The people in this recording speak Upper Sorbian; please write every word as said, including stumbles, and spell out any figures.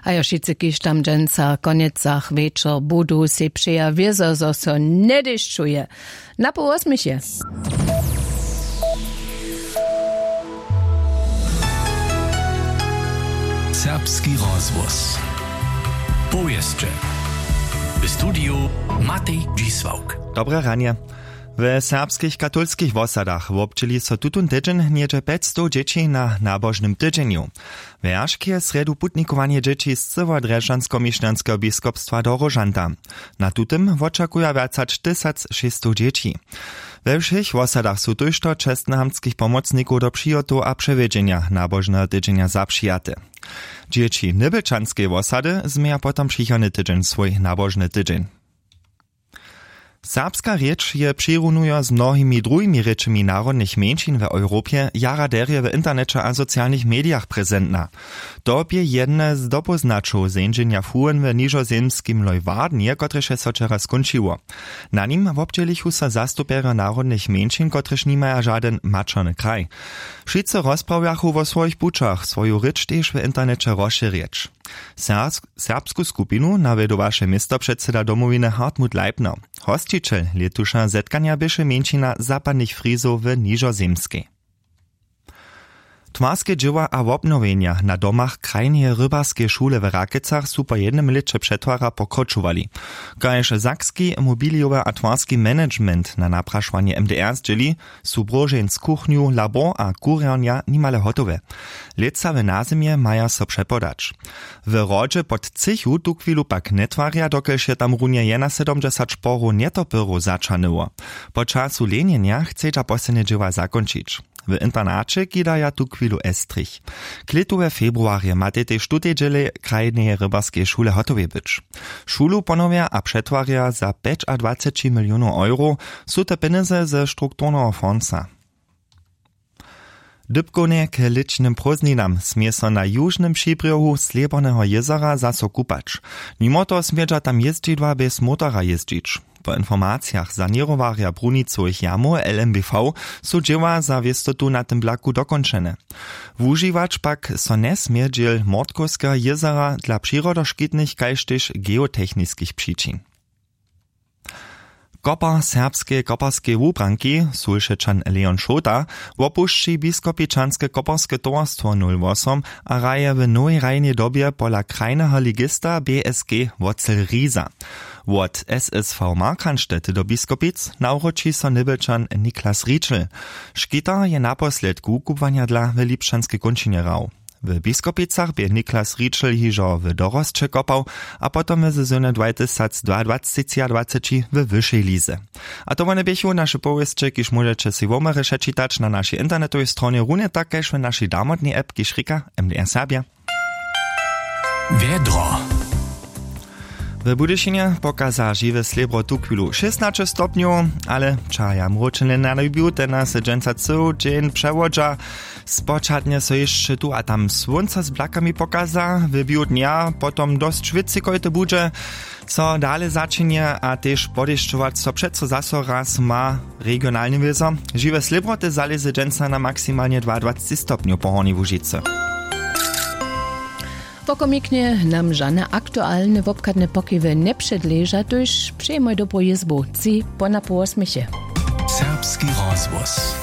A jo wšitcy kiž tam dźensa w konjecach wječor budu sej přeja wězo zo so njedešćuje. Na połosměch je. Serbski rozhłos. Powěsće. W studiju Matej Dźisławk. Dobre ranje. We serbskich katolskich wosadach wobdźěli so tutón tydźeń něhdźe pjećstow dźěći na nabožnym tydźenju. Wjeršk je srjedu putnikowanje dźěći z cyłodrježdźanskomišljanskeho biskopstwa do róžanta. Na tutym wočakuja wjac hač tysac šěsćstow dźěći. We wšěch wosadach su tójšto čestnohamtskich pomocnikow do přihotow a přewjedźenja nabožneho tydźenja zapřijate. Dźěći nybelčanskej wosady změja potom přichodny tydźeń swój nabožny tydźeń. Serbska rěč je přirunujo z mnohimi druhimi rěčemi narodnych mjeńšin w europje jara derje w interneće a socialnych medijach prezentna. To bě jedne z dopóznaćow zenźenja fuhen w nižozemskim leuwardenje kotrež je so wčera skónčiło. Na nim wobdźělichu so zastupjerjo narodnych mjeńšin kotrež nimaja žadyn maćerny kraj. Wšitcy rozprawjachu wo swojich pućach swoju rěč tež w interneće rozšěrjeć. Serbsku skupinu nawjedu waše městopředsyda domowiny hartmut leibner. Hosćićel lětuša zetkanja běše mjeńšina zapadnych frizow w nižozemskej. Twarske dźěła a wobnowjenja na domach krajneje rybarskeje šule w rakecach su po jednym lěće přetwara pokročowali. Kaž sakski mobilijowy a twarski management na naprašowanje mdr zdźěli, su bróžeń z kuchnju labor a kurjernja nimale hotowe. Lětsa w nazymje maja so přepodać. W hrodźe pod třěchu tuchwilu pak njetwarja dokelž je tam runje jenasydomdźesać porow njetopyrow zaćahnyło. Po času lenjenja chcedźa poslednje dźěła zakónčić. W internaće kidaja tuchwilu estrich. Klětu we februarje matej tež tutej dźěle krajneje rybarskeje šule hotowje być. Šulu ponowja a přetwarja za pjećadwaceći milionow euro. Su te pjenjezy ze strukturneho fonsa. Dypkownje k lěćnym prózdninam smě so na južnym přibrjohu slěborneho jězora zaso kupać. Nimo toho smědźa tam jězdźidła bjez motora jězdźić. Po informacijach saněrowarja brunicowych jamow lmbv su dźěła za wěstotu na tym blaku dokónčene. Wužiwać pak so njesmě dźěl mortkowskeho jězora dla přirodoškitnych kaž tež geotechniskich přičin. Kopar serbskeje koparskeje wubranki sulšečan leon šołta wopušći biskopičanske koparske towarstwo nul wosom a hraje w nowej hrajnej dobje pola krajneho ligista bsg wocel riza. Wot ssv markanštet do biskopic nawróći so nybelčan niklas ričel. Škitar je naposledk wukubłanja dla w lipšćanskej kónčinje hrał. W biskopicach bě niklas ričel hižo w dorosće kopał a potom w sezonje dwatysacdwaadwaceći w wyšej lize. A to wone běchu naše powěsće kiž móžeće sej womerje přečitać na našej internetowej stronje runje tak kaž w našej damotnej app kiž rěka mdr serbja. Wjedro. W budyšinje pokaza žiwe slěbro tuchwilu šěstnaće stopnjow, ale čaja mróčenje na biłtena se dźensa cył dźeń přewodźa. Spočatnje so hišće tu a tam słónco z blakami pokaza, w bił dnja potom dosć wětřikojte budźe. Co dale začinje a tež podešćować so přeco zaso raz ma regionalny wězo. Žiwe slěbroty zalěze dźensa na maksimalnje dwaadwaceći stopnjow po hornjej łužicy. Pokomiknje nam žane aktualne wobchadne pokiwy njepředleža tuž přejemoj dobru jězbu tři po na połosměche. Serbski rozhłos.